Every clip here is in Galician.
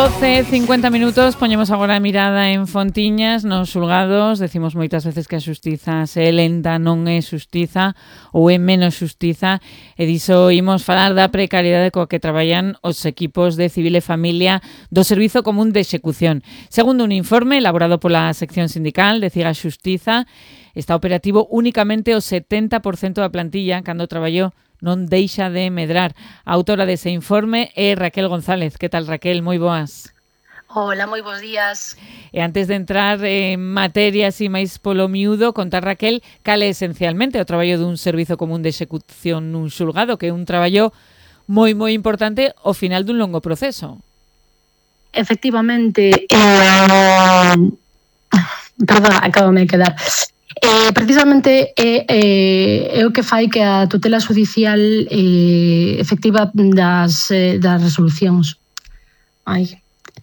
12:50, poñemos agora a mirada en Fontiñas, nos xulgados. Decimos moitas veces que a xustiza se é lenta, non é xustiza ou é menos xustiza, e diso imos falar da precariedade coa que traballan os equipos de Civil e Familia do Servizo Común de Execución. Segundo un informe elaborado pola sección sindical de CIGA Xustiza, está operativo únicamente o 70% da plantilla cando traballou non deixa de medrar. A autora dese informe é Raquel González. Que tal, Raquel? Moi boas. Hola, moi bons días. E antes de entrar en materia así máis polo miúdo, contar, Raquel, cal é esencialmente o traballo dun servizo común de execución nun xulgado, que é un traballo moi importante ao final dun longo proceso. Efectivamente, perdón, acabame de quedar. Precisamente é o que fai que a tutela judicial efectiva das resolucións. Ai,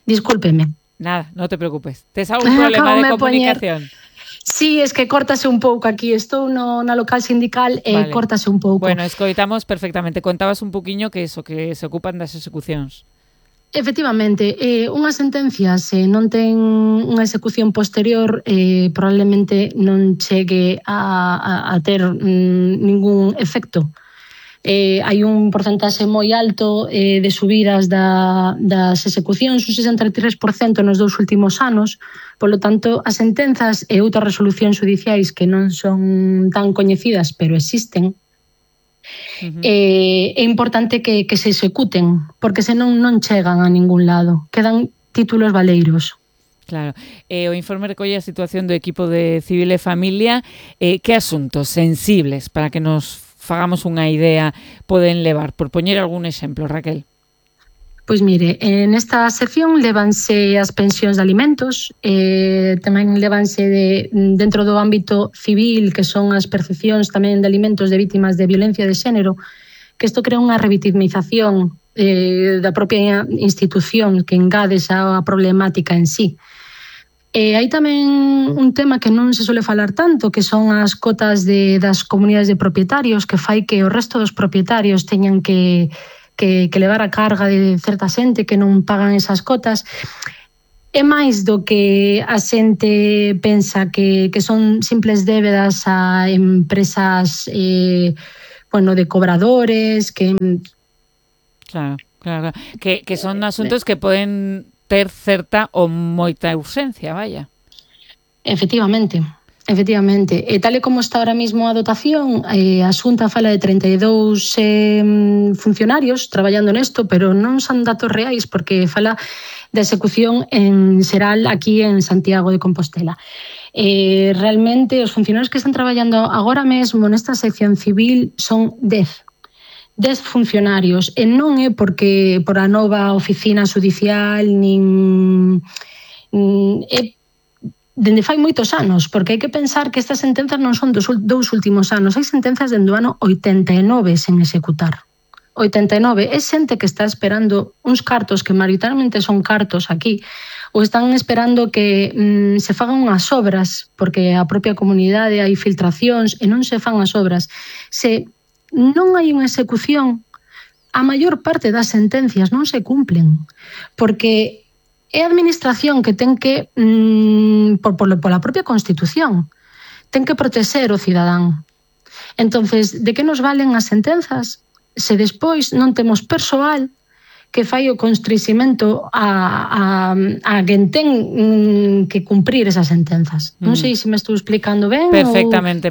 discúlpeme. Nada, non te preocupes. Tes algún problema de comunicación? Sí, es que córtase un pouco aquí. Estou na local sindical e vale. Córtase un pouco. Bueno, escoitamos perfectamente. Contabas un poquinho que eso, que se ocupan das execucións. Efectivamente, unha sentencia se non ten unha execución posterior probablemente non chegue a ter ningún efecto. Hai un porcentaxe moi alto de subidas das execucións, un 63% nos 2 últimos anos. Polo tanto, as sentenzas e outras resolucións judiciais que non son tan coñecidas, pero existen, é importante que se executen, porque senón non chegan a ningún lado, quedan títulos baleiros. Claro, o informe recolle a situación do equipo de Civil e Familia. Que asuntos sensibles, para que nos fagamos unha idea, poden levar? Por poñer algún exemplo, Raquel. Pois mire, nesta sección levanse as pensións de alimentos, tamén levanse dentro do ámbito civil, que son as percepcións tamén de alimentos de vítimas de violencia de xénero, que isto crea unha revitimización da propia institución que engade a problemática en sí. Hai tamén un tema que non se suele falar tanto, que son as cotas das comunidades de propietarios, que fai que o resto dos propietarios teñan que levar a carga de certa xente que non pagan esas cotas. É máis do que a xente pensa que son simples débedas a empresas de cobradores, que... Claro. Que son asuntos que poden ter certa ou moita urxencia, vaya. Efectivamente. E tal e como está ahora mismo a dotación, a Xunta fala de 32 funcionarios traballando nesto, pero non son datos reais, porque fala da execución en xeral aquí en Santiago de Compostela. Realmente os funcionarios que están traballando agora mesmo nesta sección civil son 10 funcionarios, e non é porque por a nova oficina judicial nin é dende fai moitos anos, porque hai que pensar que estas sentenzas non son dos 2 últimos anos, hai sentenzas dende o ano 89 sen executar. 89, é xente que está esperando uns cartos que maioritariamente son cartos aquí, ou están esperando que se fagan unhas obras, porque a propia comunidade hai filtracións e non se fan as obras. Se non hai unha execución, a maior parte das sentencias non se cumplen, porque é a administración que ten que, pola propia Constitución, ten que protexer o cidadán. Entonces, de que nos valen as sentenzas se despois non temos persoal que fai o constresimento a quen ten que cumprir esas sentenzas. Non sei se me estou explicando ben. Perfectamente.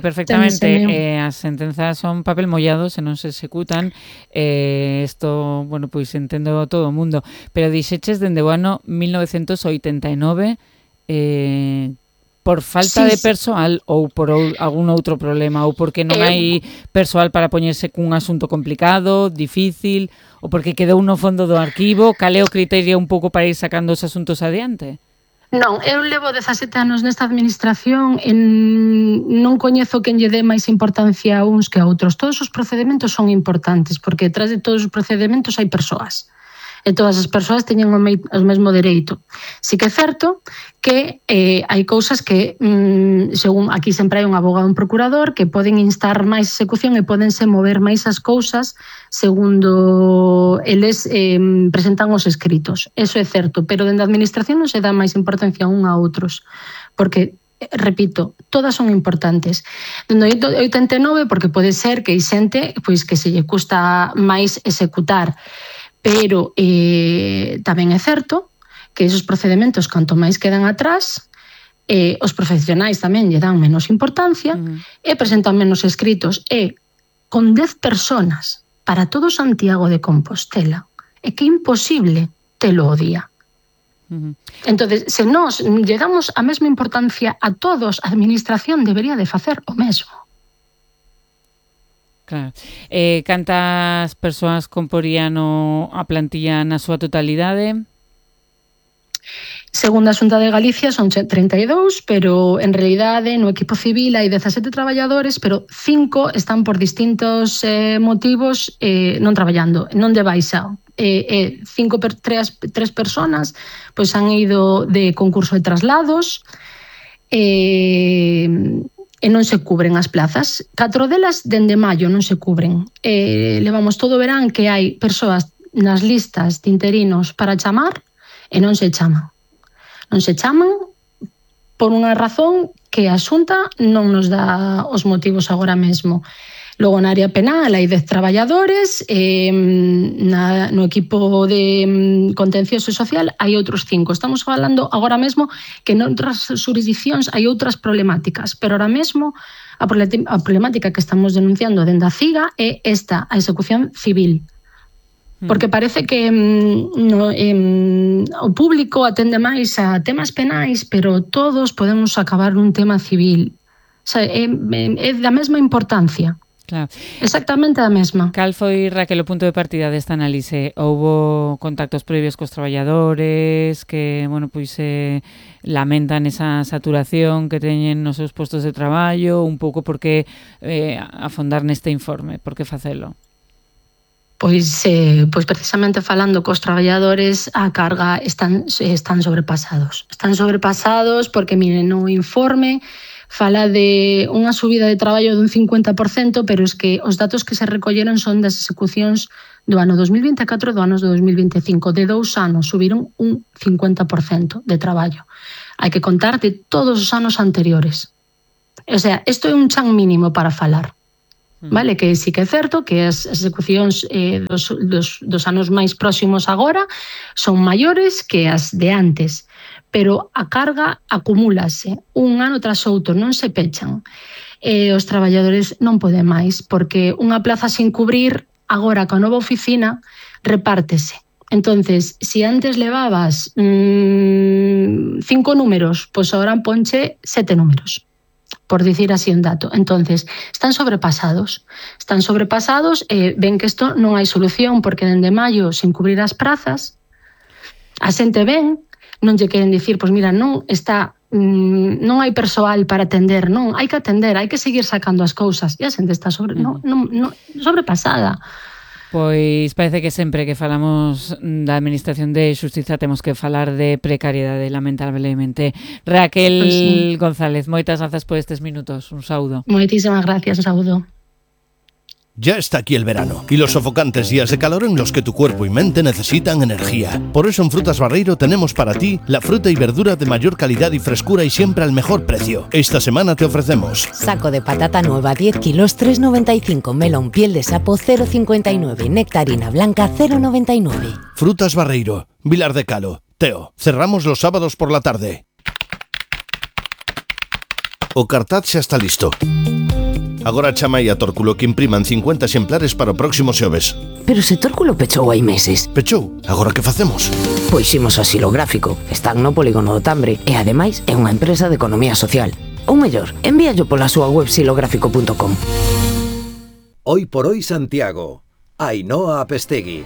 As sentenzas son papel mollado se non se executan. Isto, pois entendo todo o mundo. Pero dixeches dende o ano 1989 por falta de persoal ou por algún outro problema, ou porque non hai persoal para poñerse cun asunto complicado, difícil, ou porque quedou no fondo do arquivo. Cal é o criterio un pouco para ir sacando os asuntos adiante? Non, eu levo 17 anos nesta administración e non coñezo quen lle dé máis importancia a uns que a outros. Todos os procedementos son importantes, porque detrás de todos os procedementos hai persoas. e todas as persoas teñen o mesmo dereito. Si que é certo que hai cousas que, según aquí sempre hai un abogado e un procurador, que poden instar máis execución e podense mover máis as cousas segundo eles presentan os escritos. Eso é certo, pero dende a administración non se dá máis importancia un a outros, porque repito, todas son importantes. Dende 89, porque pode ser que hai xente pois, que se lle custa máis executar, pero tamén é certo que esos procedementos, canto máis quedan atrás, os profesionais tamén lle dan menos importancia e presentan menos escritos. E con 10 personas para todo Santiago de Compostela, é que é imposible telo o día. Entonces, se nós lle damos a mesma importancia a todos, a administración debería de facer o mesmo. Claro. Cantas persoas comporían a plantilla na súa totalidade? Segundo a Xunta de Galicia son 32, pero en realidade no equipo civil hai 17 traballadores, pero 5 están por distintos motivos non traballando, non de baixa. 3 personas pois han ido de concurso de traslados e non se cubren as plazas. 4 delas dende maio non se cubren. Levamos todo o verán que hai persoas nas listas de interinos para chamar e non se chaman. Non se chaman por unha razón que a Xunta non nos dá os motivos agora mesmo. Logo, na área penal hai 10 traballadores, no equipo de contencioso social hai outros 5. Estamos falando agora mesmo que noutras jurisdiccións hai outras problemáticas, pero ahora mesmo a problemática que estamos denunciando dende a CIGA é esta, a execución civil. Porque parece que o público atende máis a temas penais, pero todos podemos acabar nun tema civil. O sea, é da mesma importancia. Claro. Exactamente a mesma. Cal foi, Raquel, o punto de partida desta análise? Houbo contactos previos cos traballadores que, bueno, pois lamentan esa saturación que teñen nos seus postos de traballo, un pouco por que afondar neste informe, por que facelo? Pois precisamente falando cos traballadores, a carga están sobrepasados. Están sobrepasados porque, miren, no informe fala de unha subida de traballo dun 50%, pero es que os datos que se recolleron son das execucións do ano 2024 e do ano 2025. De 2 anos subiron un 50% de traballo. Hai que contar de todos os anos anteriores. O sea, isto é un chan mínimo para falar. Vale, que sí que é certo que as execucións dos anos máis próximos agora son maiores que as de antes, pero a carga acumúlase un ano tras outro, non se pechan. Os traballadores non poden máis, porque unha plaza sin cubrir, agora coa nova oficina, repártese. Entonces, si antes levabas 5 números, pois agora ponche 7 números, por dicir así un dato. Entonces, están sobrepasados e ven que isto non hai solución, porque dende maio, sin cubrir as prazas, a xente ven, non lle queren dicir, pois mira, non hai persoal para atender, non, hai que atender, hai que seguir sacando as cousas, e a xente está sobrepasada. Pois parece que sempre que falamos da Administración de Xustiza temos que falar de precariedade, lamentablemente. Raquel González, moitas grazas por estes minutos. Un saúdo. Moitísimas gracias, un saúdo. Ya está aquí el verano y los sofocantes días de calor en los que tu cuerpo y mente necesitan energía. Por eso en Frutas Barreiro tenemos para ti la fruta y verdura de mayor calidad y frescura y siempre al mejor precio. Esta semana te ofrecemos saco de patata nueva 10 kilos 3,95, melón piel de sapo 0,59, nectarina blanca 0,99. Frutas Barreiro, Vilar de Calo, Teo. Cerramos los sábados por la tarde. O cartaz xa está listo. Agora chamai a Tórculo que impriman 50 exemplares para o próximo xoves. Pero se Tórculo pechou hai meses. Pechou? Agora que facemos? Pois ximos ao xilográfico. Están no polígono do Tambre e ademais é unha empresa de economía social. Ou mellor, envíallo pola súa web xilográfico.com. Hoy por hoy Santiago. Ainhoa Apestegui.